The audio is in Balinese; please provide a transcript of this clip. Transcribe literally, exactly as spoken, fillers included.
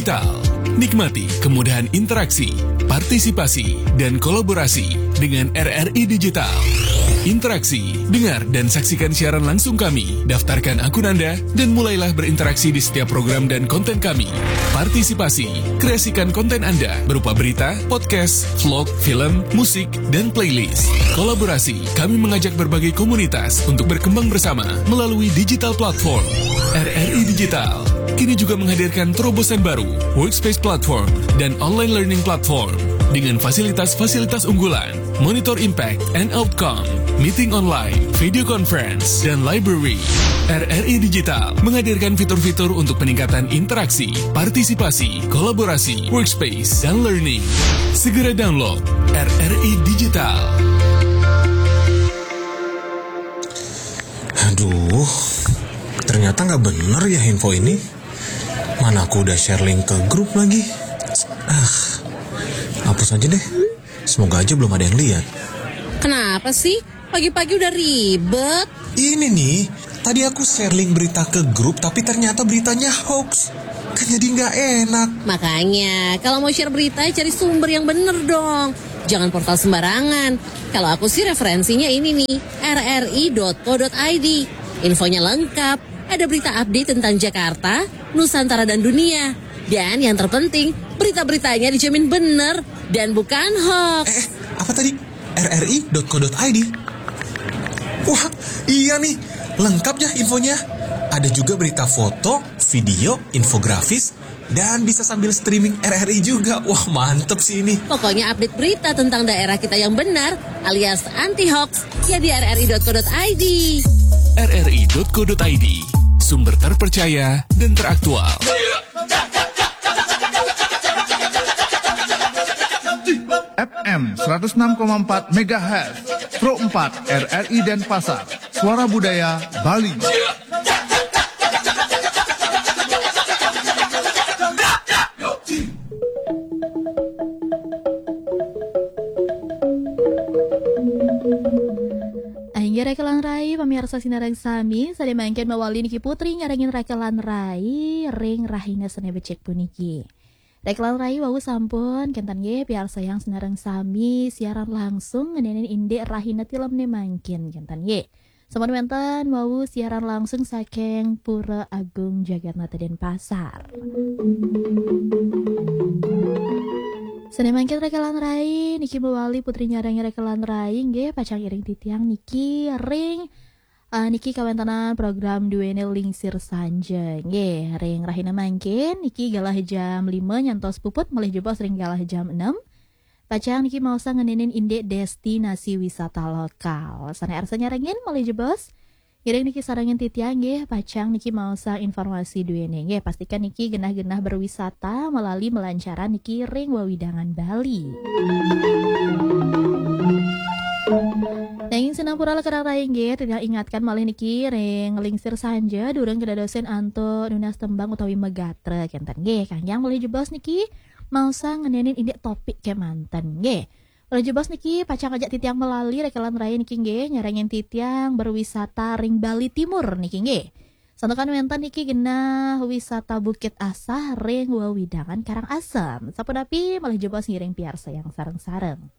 Digital. Nikmati kemudahan interaksi, partisipasi, dan kolaborasi dengan R R I Digital. Interaksi, dengar, dan saksikan siaran langsung kami. Daftarkan akun Anda dan mulailah berinteraksi di setiap program dan konten kami. Partisipasi, kreasikan konten Anda berupa berita, podcast, vlog, film, musik, dan playlist. Kolaborasi, kami mengajak berbagai komunitas untuk berkembang bersama melalui digital platform. R R I Digital kini juga menghadirkan terobosan baru, workspace platform, dan online learning platform dengan fasilitas-fasilitas unggulan, monitor impact and outcome, meeting online, video conference, dan library. R R I Digital menghadirkan fitur-fitur untuk peningkatan interaksi, partisipasi, kolaborasi, workspace, dan learning. Segera download R R I Digital. Aduh, ternyata nggak bener ya info ini. Mana aku udah share link ke grup lagi. Ah, hapus aja deh. Semoga aja belum ada yang lihat. Kenapa sih? Pagi-pagi udah ribet. Ini nih, tadi aku share link berita ke grup tapi ternyata beritanya hoax. Kan jadi nggak enak. Makanya, kalau mau share berita, cari sumber yang bener dong. Jangan portal sembarangan. Kalau aku sih referensinya ini nih, R R I dot co dot I D. Infonya lengkap, ada berita update tentang Jakarta, Nusantara dan dunia. Dan yang terpenting, berita-beritanya dijamin bener dan bukan hoax. Eh, apa tadi? R R I dot co dot I D. Wah, iya nih, lengkap ya infonya. Ada juga berita foto, video, infografis, dan bisa sambil streaming R R I juga. Wah, mantep sih ini. Pokoknya update berita tentang daerah kita yang benar alias anti hoax ya di R R I dot co dot I D. R R I dot co dot I D, sumber terpercaya dan teraktual. F M seratus enam koma empat megahertz, Pro empat R R I Denpasar, Suara Budaya Bali. Inggih rekelan rai, pamiarsa sinareng sami, sadaya mangkin mawali niki Putri nyarengin rekelan rai ring rahina Senin becik puniki. Rekelan rai wau sampun kenten nggih piarsayang sinareng sami siaran langsung ngenenin indik rahina tilemne mangkin kenten nggih. Sampun wenten wau siaran langsung saking Pura Agung Jagatnata Denpasar. Sane mangkin rekelan rai niki mawali Putri nyarengin rekelan rai nggih pacang iring titiang niki ring eh, niki kawentenan program duene Lingsir Sanja nggih ring rahina mangkin niki galah jam lima nyantos puput malih jebos ring galah jam enam. Pacang niki maosa ngenenin indik destinasi wisata lokal. Sane arsa nyarengin malih jebos. Ngiring niki sarengin titiang nggih, pacang niki maosa informasi duene nggih. Pastikan niki genah-genah berwisata melalui melancaran niki ring wewidangan Bali. Nanging sinampura lekerang rai nggih, titiang ingatkan malih niki ring Lingsir Sanja durung kedadosin antuk nunas tembang utawi megatra kenten nggih. Kangge malih jebos niki maosa ngenenin indik topik kemanten nggih. Malih jebos niki pacang ajak titiang melali rekelan rai niki nggih, nyarengin titiang berwisata ring Bali Timur niki nggih. Santukan wenten niki genah wisata Bukit Asah ring wewidangan Karangasem. Sapunapi malih jebos ngiring piarsayang sareng-sareng.